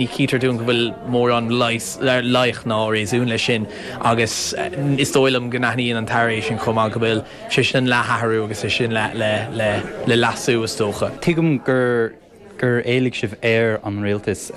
Ní chítear dúinn go bhfuil mórán loighic ná réasún leis sin agus is dóigh liom go n-aithníonn an tAire é sin chomh maith, go bhfuil sé sin le hathrú agus é sin le leasú, is dócha. Tuigim gur gur éiligh sibh ar an rialtas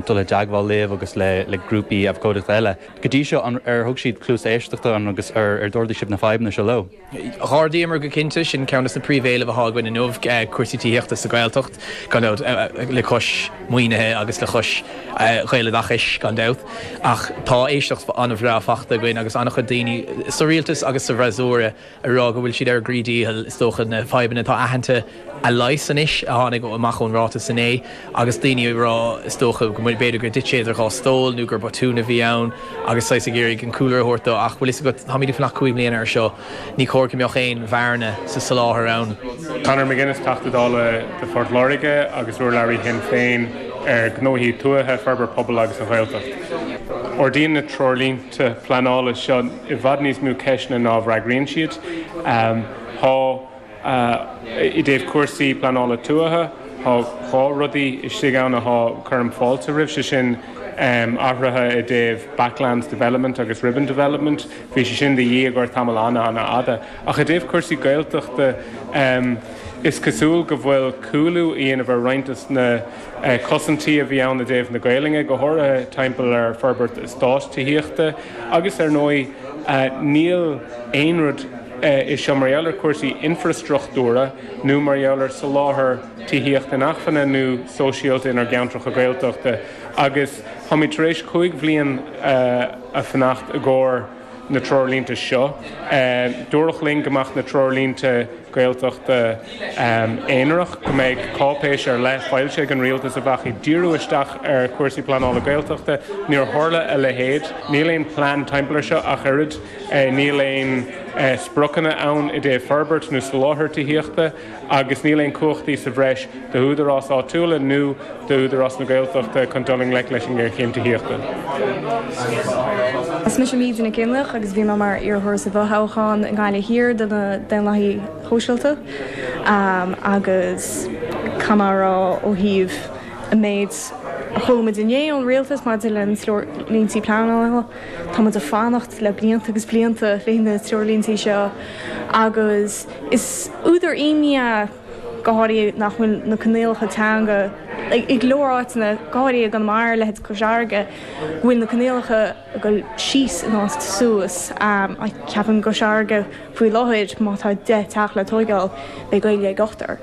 dul i dteagmháil libh agus le grúpaí abhcóideachta eile. Go dtí seo, ar thug siad cluas éisteachta agus ar d'ardaigh sibh na fadhbanna seo leo? D'ardaíomar go cinnte, sin ceann de na príomhéilimh atá againn inniu, cúrsaí tithíochta sa Ghaeltacht, gan dabht, le cois maoinithe agus le cois Ghaeloideachais, gan dabht. Ach tá éisteacht an-bhreá faighte againn agus an-chuid daoine sa rialtas agus sa bhfreasúra ag rá go bhfuil siad ar a gcroí dícheall, is dócha, na fadhbanna atá aitheanta a leigheas anois, a tháinig amach ón ráiteas inné, agus daoine ag rá, is dócha, go b'fhéidir gur thit sé idir dhá stól nó gur botún a bhí ann agus saghas ag iarraidh an cúlra a thabhairt dó. Ach bhfuil fhios agat, táimid ag fanacht 5 mbliana air seo, ní chóir go mbeadh aon bhearna sa soláthar ann. Conor McGuinness, Teachta Dála do Phort Láirge agus urlabhraí Shinn Féin ar ghnóthaí tuaithe, forbairt pobail agus an Ghaeltacht. Ardaíonn na treoirlínte pleanála seo i bhfad níos mó ceisteanna ná a bhfreagraíonn siad. Tá. I dtaobh cúrsaí pleanála tuaithe, tá dhá rudaí istigh ann atá, cuirim fáilte roimh, sé sin athruithe i dtaobh backlands development agus ribbon development. Bhí sé sin de dhíth i gcomhair tamall an-an-fhada. Ach i dtaobh cúrsaí Gaeltachta, is cosúil go bhfuil cúlú á dhéanamh ar roinnt de na cosaintí a bhí ann i dtaobh na Gaelainne, go háirithe timpeall ar forbairt eastáit tithíochta agus ar ndóigh níl aon rud i seo mar gheall ar chúrsaí infreastruchtúra nó mar gheall ar soláthar tithíochta inacmhainne nó sóisialta inár gceantracha Gaeltachta agus táimid tar éis 5 bhliain a fanacht i gcomhair na treoirlínte seo. Dúradh linn go mbeadh na treoirlínte Gaeltachta aonarach, go mbeadh cáipéis ar leith foilsithe ag an rialtas a bheadh ag díriú isteach ar chúrsaí pleanála Gaeltachta. Níor tharla a leithéid. Níl aon plean timpeall ar seo ach oiread. Níl aon spriocanna ann i dtaobh forbairt nó soláthar tithíochta agus níl aon cumhachtaí sa bhreis d'údaráis áitiúla nó d'Údarás na Gaeltachta chun dul i ngleic leis an ngéarchéim tithíochta. Is mise Míde Nic Fhionnlaoich agus bhí mé mar iarrthóir sa bhfothoghchán i nGaillimh Thiar do na Daonlathaigh Shóisialta agus caithfidh mé a rá ó thaobh an méid a chuala muid inné ón rialtas maidir le na treoirlíntí pleanála, Tá muid ag fanacht le blianta agus blianta le na treoirlíntí seo agus is údar imní é go háirithe nach bhfuil na coinníollacha teanga i go leor áiteanna, go háirithe i gConamara, leithéid Cois Fharraige, go bhfuil na coinníollacha ag dul síos in áit suas. Ceapaim i gCois Fharraige faoi láthair má tá 10 teach le tóigeáil beidh Gaeilge ag ochtar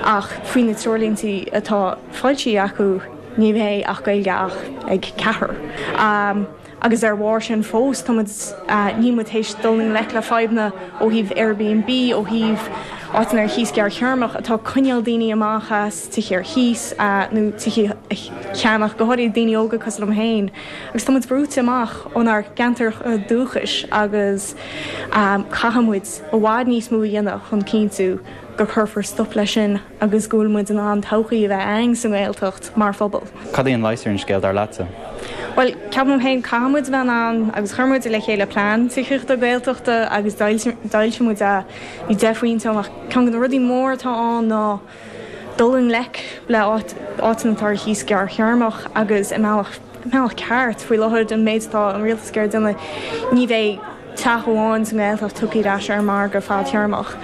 ach faoi na treoirlíntí atá foilsithe acu, Ní bheidh ach Gaeilge ach ag ceathrar. Agus ar bharr sin fós, tá muid, níl muid théis dul i ngleic le fadhbanna ó thaobh Airbnb, ó thaobh áiteanna ar chíos gearrthéarmach atá ag coinneáil daoine amach as tithe ar chíos nó tithe a cheannach, go háirithe daoine óga cosúil liom féin. Agus tá muid brúite amach ónár gceantar dúchais agus caithfidh muid i bhfad níos mó a dhéanamh chun cinntiú gur cuirfear stop leis sin. agus go bhfuil muid in ann todhchaí a bheith againn sa nGaeltacht mar phobal. Cad é an leigheas ar an scéal, dar leatsa? Bhuel, ceapaim féin, caithfidh muid a bheith in ann, agus chuir muid le chéile plean tithíochta Gaeltachta agus d'fhoilsigh muid é, bhí 10 phointe ann ach ceann de na rudaí móra atá ann ná dul i ngleic le áiteanna atá ar chíos gearrthéarmach agus i mbealach, mbealach ceart. Faoi láthair, an méid atá an rialtas ag iarraidh déanamh, ní bheidh teach amháin sa nGaeltacht tugtha ar ais ar an margadh fadtéarmach.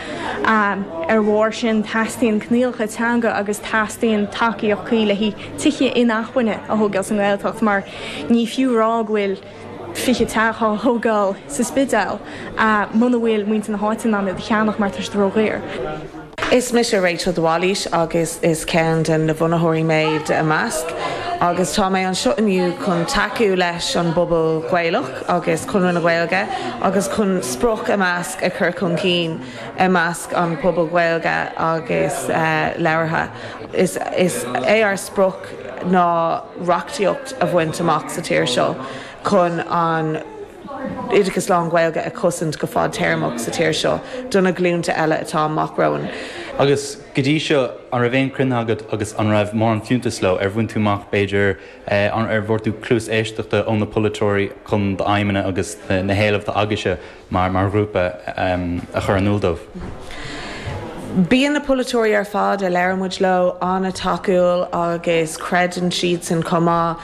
Ar bharr sin, teastaíonn coinníollacha teanga agus teastaíonn tacaíocht cuí le haghaidh tithe inacmhainne a thógáil sa nGaeltacht mar ní fiú rá go bhfuil 20 teach á thógáil sa Spidéal muna bhfuil muintir na háite in ann iad a cheannach mar tá siad ródhaor. Is mise Rachel de Bhailís agus is ceann de na bhunaitheoirí mé de iMeasc agus tá mé anseo inniu chun tacú leis an bpobal Gaelach agus Conradh na Gaeilge agus chun sprioc iMeasc a chur chun cinn i measc an pobal Gaeilge agus labhartha. Is é ár sprioc ná reachtaíocht a bhaint amach sa tír seo chun an oideachas lán-Ghaeilge a chosaint go fadtéarmach sa tír seo do na glúnta eile atá amach romhainn. Agus go dtí seo, an raibh aon cruinnithe agat agus an raibh mórán fiúntas leo? Ar bhain tú amach, b'fhéidir, ar bhfuair tú cluas éisteachta ó na polaiteoirí chun d'aidhmeanna agus na héilimh atá agaibhse mar ghrúpa a chur in iúl dóibh? Bíonn na polaiteoirí ar fad a labhrann muid leo an-tacúil agus creideann siadsan chomh maith.